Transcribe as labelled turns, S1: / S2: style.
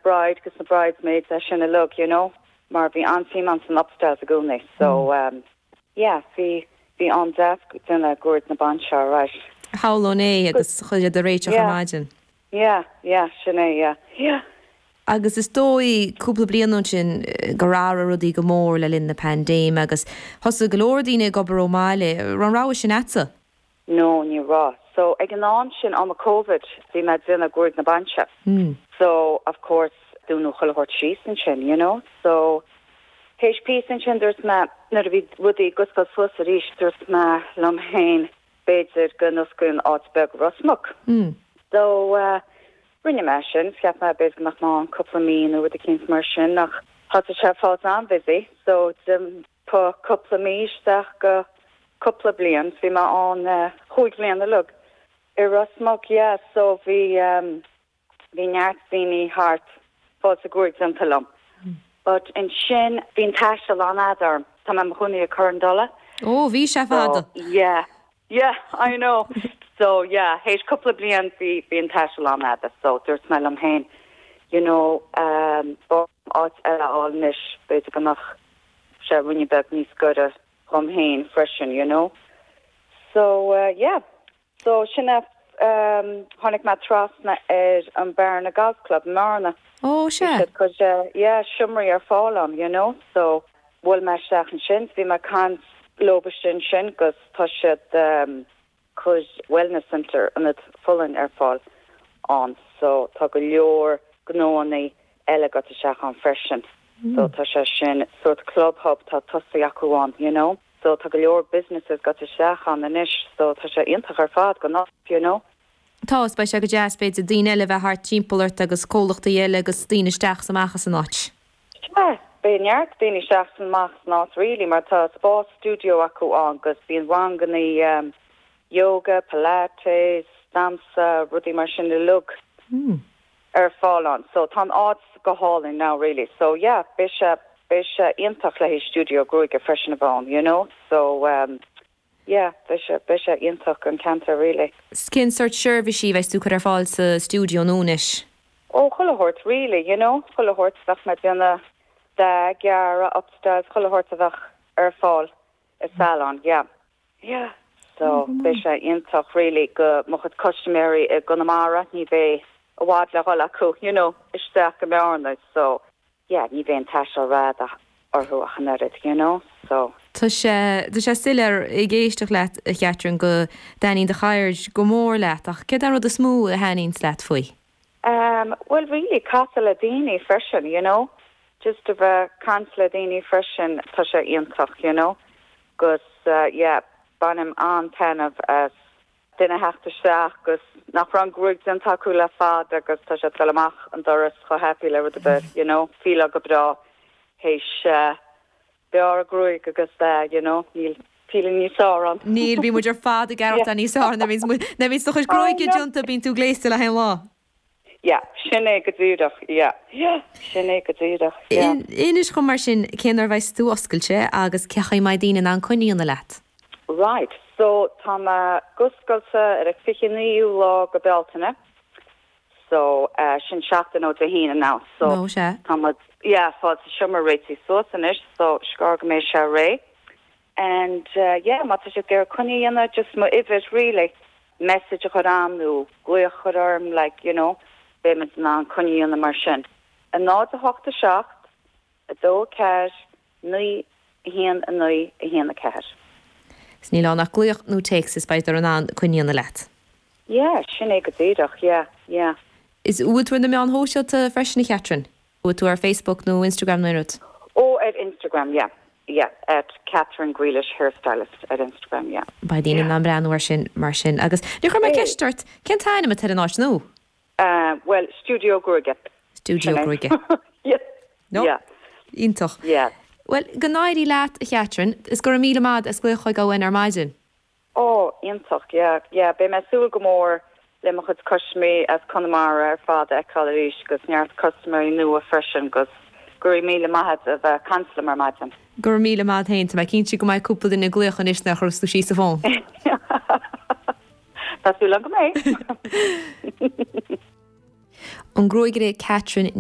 S1: bride agus na bridesmaids é sin uilig, you know, mar bhí an-suim ann san upstyles i gcónaí. So yeah, bhí, bhí am deas ag déanamh gruaig na bainse alright.
S2: Shamhlóinn é agus chuile rud a réiteach ar maidin.
S1: Yeah, yeah, sin é, yeah, yeah.
S2: Agus is dóigh, cúpla bliain ó sin, gur athraigh rudaí go mór le linn na paindéime agus thosaigh go leor daoine ag obair ón mbaile. Raibh an rogha sin a'dsa?
S1: No, ní raibh. So, ag an am sin, am Covid, bhí mé ag déanamh gruaig na bainse. So, of course, dúnadh chuile shórt síos ansin, you know. So, théis píosa ansin, dúirt mé, nuair a bhí rudaí ag oscailt suas arís, dúirt mé liom féin, b'fhéidir go n-osclaíonn áit beag i Ros Muc. So, rinne mé sin. Cheap mé b'fhéidir go mbeadh mé ann cúpla mí nó rud eicínt mar sin, ach thosaigh sé ag fáilt an-busy. So, d'iompaigh cúpla mí isteach go cúpla bliain. Bhí mé ann chúig bhliain uilig i Ros Muc, yeah. So, bhí. Bhí neart daoine thart fáilt a gruaig déanta liom. But ansin bhí an taisteal an-fhada orm. Tá mé i mo chónaí i Corran Dola.
S2: Ó, bhí sé fada.
S1: So, yeah. Yeah, I know. So, yeah, théis cúpla bliain bhí, bhí an taisteal an-fhada. So, dúirt mé liom féin, you know, um, b'fhearr áit eile a fháil anois, b'fhéidir go mbeadh sé ruainne beag níos gaire dhom féin freisin, you know. So, uh, yeah. So, sin é, tháinig mé trasna ar an Bearna Golf Club i mBearna.
S2: Ó, sea.
S1: Bhí siad ag cur, yeah, seomraí ar fáil ann, you know, so bhuail mé isteach ansin, bhí mé ag caint leob istigh ansin 'gus tá siad ag cur wellness centre, ionad folláin ar fáil ann, so tá go leor gnóannaí eile ag goil isteach ann freisin. So tá sé sin sórt club hub tá tosaithe acu ann, you know. So tá go leor businesses ag goil isteach ann anois so tá sé iontach ar fad don áit, you know.
S2: Tá, is beidh sé go deas b'fhéidir daoine eile a bheith thart timpeall ort agus comhlachtaí eile agus daoine isteach is amach as an áit.
S1: Sea, beidh neart daoine isteach is amach as an áit really mar tá spás studio acu ann 'gus bíonn rangannaí yoga, pilates, damhsa, rudaí mar sin uilig. ar fáil ann. So tá an áit go hálainn now really. So yeah, beidh sé, beidh sé iontach le haghaidh stiúideo gruaige freisin a bheith ann, you know. So um yeah, beidh sé, beidh sé iontach an ceantar really.
S2: 'S cén sórt seirbhísí a bheas tú ag cur ar fáil sa stiúideo nua anois?
S1: Ó, chuile shórt really, you know, chuile shórt. Bheadh mé ag déanamh dath, gearradh, upstyles, chuile shórt a bheadh ar fáil i salon, yeah. Yeah so beidh sé iontach really go mo chuid custaiméirí i gConamara ní bheidh i bhfad le dhul acu you know isteach go Bearna so yeah ní bheidh an taisteal rófhada orthu ach an oiread you know so.
S2: Tá sé, tá sé soiléir ag éisteacht leat a Chatherine go dtaitníonn do cheird go mór leat ach céard é an rud is mó a thaitníonns leat faoi?
S1: Um bhuel really casadh le daoine freisin you know just a bheith caint le daoine freisin tá sé iontach you know 'gus yeah bainim an-taitneamh as duine a theacht isteach 'gus nach raibh an gruaig déanta acu le fada agus tá siad ag dul amach an doras chomh happy le rud ar bith you know fíleáil go breá théis bearradh gruaig agus you know níl feeling níos fearr ann.
S2: Níl, bíonn muid ar fad ag aireachtáil níos fearr nuair a bhíonns do chuid gruaige déanta bíonn tú gléasta le haghaidh an lá.
S1: Yeah, sin é go díreach, yeah, yeah, sin é go díreach, yeah.
S2: Inis dhom mar sin cén uair a bheas tú oscailte agus cé chaoi a mbeidh daoine in ann coinne a dhéanamh leat?
S1: Right, so tá mé ag oscailt ar an 29ú lá go Bealtaine, so sin seachtain ó Dé hAoine now, so
S2: Nó sea.
S1: tá muid, yeah, fáil sa seomra réitithe suas anois, so is gearr go mbeidh sé réidh. And yeah, má tá siad ag iarraidh coinne a dhéanamh, just mo uimhir really, message a chur a'm nó glaoch a chur orm like, you know, beidh muid in ann coinne a dhéanamh mar sin. 0 8 7 2 4 9 1 9 1 4.
S2: 'S níl ann ach glaoch nó téacs is beidh siad in ann coinne a dhéanamh leat.
S1: Yeah, sin é go díreach, yeah, yeah.
S2: Is bhfuil tú ar na meáin shóisialta freisin a Chatherine? Bhfuil tú ar Facebook nó Instagram nó aon rud?
S1: Ó ar Instagram yeah yeah at Catherine Grealish hairstylist ar Instagram yeah.
S2: Beidh daoine in ann breathnú ar sin mar sin. Agus níor chuir mé ceist ort, cén t-ainm atá ar an áit nua?
S1: Bhuel, Stiúideo Gruaige.
S2: Stiúideo Gruaige.
S1: Yeah.
S2: No.
S1: Yeah.
S2: Iontach.
S1: Yeah.
S2: Bhuel, go n-éirí leat, a Chatherine, is go raibh míle maith as glaoch chuig againn ar maidin.
S1: Ó, iontach, yeah, yeah, beidh mé ag súil go mór le mo chuid custaiméirí as Conamara ar fad a fheiceáil arís 'gus neart custaiméirí nua freisin 'gus go raibh míle maith a'd a bheith ag caint liom ar maidin.
S2: Go raibh míle maith a'd féin, tá mé cinnte go mbeidh cúpla duine ag glaoch anois nuair a chuirfeas tú síos an fón.
S1: Tá súil agam go mbeidh.
S2: An gruagaire Catherine Ní.